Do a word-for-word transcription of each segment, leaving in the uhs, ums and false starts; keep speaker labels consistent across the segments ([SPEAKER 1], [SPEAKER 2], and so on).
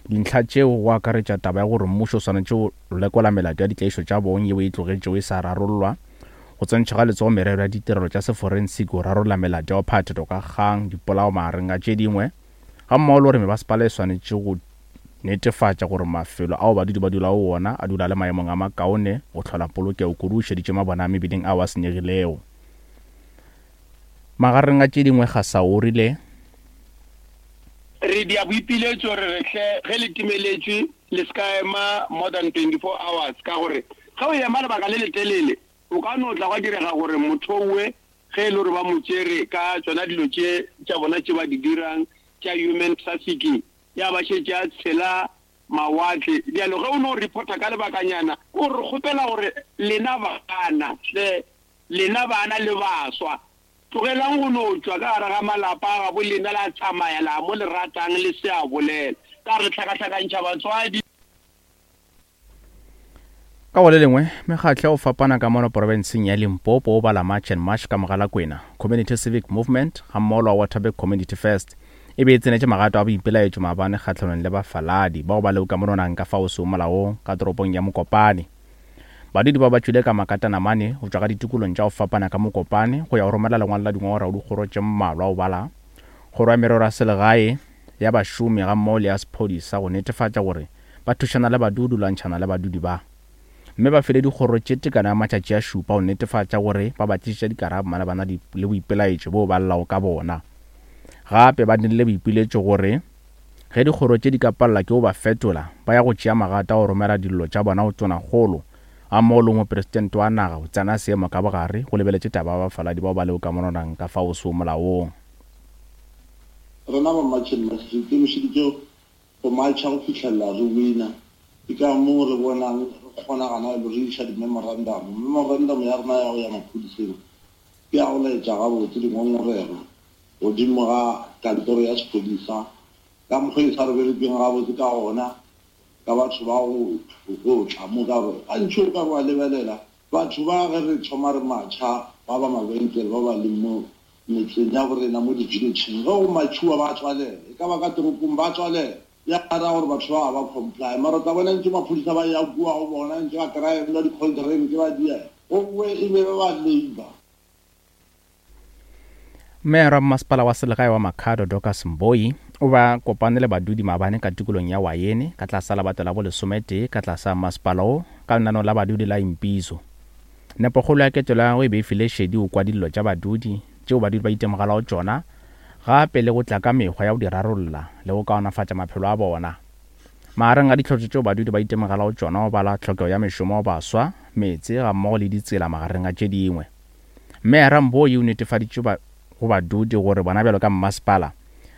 [SPEAKER 1] Dintlha tšeo go akaretša taba ya gore mmušo o swanetše go lekola melato ya ditlaišo tša bong yeo e tlogetšego e sa rarollwa, go tsentšha ga letsogo merero ya ditirelo tša seforensiki go rarolla melato ya go phathetšwa ka kgang, dipolao magareng a tše dingwe, gammogo le gore mebasepala e swanetše go netefatša gore mafelo ao badudi ba dulago go ona a dula a le maemong a makaone go hlola polokego kudu o šeditše mabona a mebileng ao a senyegilego. Magareng a tše dingwe Gasa o rile.
[SPEAKER 2] Re dia boipiletšo re re hle ge le timeletšwe le se ka ema more than twenty four hours ka gore ge o ema lebaka le letelele o ka no tla gwa direga gore motho owe ge e le gore ba mo tšere ka tšona dilo tše tša bona tše ba di dirang tša human trafficking ya ba šetše a tshela mawatle. Bjalo ge o no reporta ka lebakanyana ke gore re kgopela gore lena bana hle lena bana le baswa tlogelang go no tšwa ka gare ga malapa a gabo lena la tsamaya la mo le ratang le se a bolela ka re hlakahlakantšha batswadi.
[SPEAKER 1] Ka go le lengwe, mekgatlo ya go fapana ka mono porofenseng ya Limpopo o bala March and March ka Mogalakwena Community Civic Movement gammogo le wa Waterberg Community First e be e tsenetše magato a boipelaetšo maabane kgahlanong le bafaladi bao ba lego ka mononang ka fao seo molaong ka toropong ya Mokopane. Badudi ba ba tšwile ka makatanamane go tšwa ka ditikolong tša go fapana ka Mokopane go ya go romela lengwalo la dingongorego dikgoro tše mmalwa go bala kgoro ya merero ya selegae ya bašomi gammogo le ya sephodisa go netefatša gore ba thušana le badudi lwantšhana le badudi ba mme ba file dikgoro tše tekano ya matšatši a šupa go netefatša gore ba ba tlišetša dikarabo malebana le boipelaetšo boo ba llago ka bona. Gape ba dirile boipiletšo gore ge dikgoro tše di ka palela ke go ba fetola ba ya go tšea magato a go romela dillo tša bona go tonakgolo gammogo le mopresidente wa naga go tsena seemo ka bogare go lebeletše taba ya bafaladi bao ba lego ka mononang ka fao seo molaong.
[SPEAKER 3] Rena ba March and March re ikemišeditše go matšha go fihlelela re wina. Ke ka moo re bonang re kgona gana le re iša di-memorandum. Memorandum ya rena ya go ya maphodiseng ke ya go laetša gabotse dingongorego godimo ga kantoro ya sephodisa ka mokgwa e sa re berekeng gabotse ka gona ka batho ba go go tla mo ka gore gantši o ka re wa lebelela batho ba ge re thoma re matšha ba ba mabenkele ba ba leng mo metseng ya borena mo di-villageng ge go matšhiwa ba tswalela e ka ba ka toropong ba tswalela ya ra gore batho ba ga ba comply mara tla bona ntse maphodisa ba ya kua go bona ntse ba kry-a di-cold drink ba dia gowe e be ba ba labor.
[SPEAKER 1] Meyara wa mmasepala wa selegae wa Makhado Dorcas Mboi o ba kopane le badudi maabane ka tikolong ya Wayene ka tlasa lebato la bolesometee ka tlasa mmasepala wo ka lenaneo la badudi la Impizo. Nepokgolo ya ketelo ya gagwe e be e file šedi go kwa dillo tša badudi tšeo badudi ba itemogelago tšona gape le go tla ka mekgwa ya go di rarolla le go kaonafatša maphelo a bona. Magareng a ditlhotlo tšeo badudi ba itemogelago tšona go bala tlhokego ya mešomo go baswa, meetse gammogo le ditsela magareng a tše dingwe. Meyara Mboi o netefaditše go badudi gore bona bjalo ka mmasepala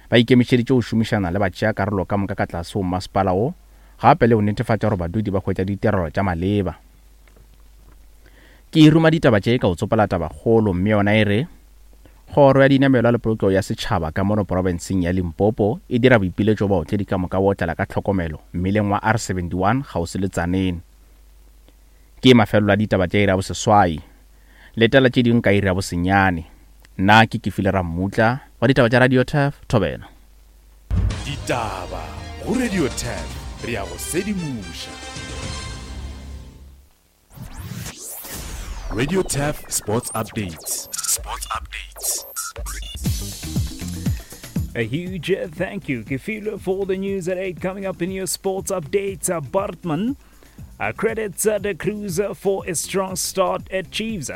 [SPEAKER 1] ba ikemišeditše go šomišana le batšeakarolo ka moka ka tlase go mmasepala wo gape le go netefatša gore badudi ba hwetša ditirelo tša maleba. Ke ruma ditaba tše ka go tsopola tabakgolo mme yona e re kgoro ya dinamelwa le polokego ya setšhaba ka mono porofenseng ya Limpopo e dira boipiletšo baotledi ka moka bo otlela ka tlhokomelo mmileng wa R seventy-one kgauswi le Tzaneen. Ke mafelelo a ditaba tša iri ya boseswai. Letela tše dingwe ka iri ya bosenyane. Nna ke Kefile Rammutla wa ditaba tša Radio Turf Thobela.
[SPEAKER 4] Ditaba go Radio Turf re ya go sedimoša. Radio Turf Sports Updates. Sports Updates.
[SPEAKER 5] A huge thank you, Kefile, for the news at eight. Coming up in your sports updates, uh, Bartman uh, credits uh, the Cruiser for a strong start at Chiefs.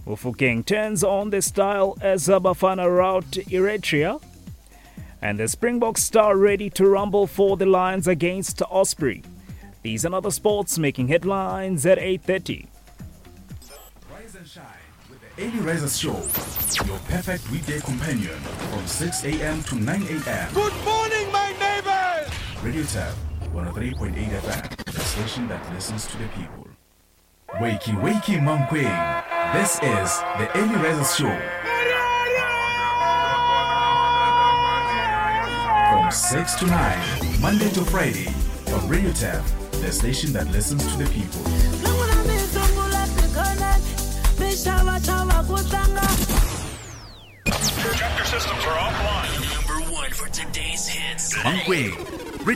[SPEAKER 5] Mofokeng turns on the style as Bafana rout Eritrea. And the Springbok star ready to rumble for the Lions against Osprey. These and other sports making headlines at eight thirty.
[SPEAKER 4] Rise and shine with the Early Risers Show, your perfect weekday companion from six a.m. to nine a.m.
[SPEAKER 6] Good morning, my neighbors!
[SPEAKER 4] Radio Turf, one oh three point eight F M, the station that listens to the people. Wakey, wakey, Mankweng. This is the Early Risers Show. From six to nine, Monday to Friday, on Radio Turf, the station that listens to the people.
[SPEAKER 7] Chapter systems are offline. Number one for today's hits.
[SPEAKER 4] Mankweng.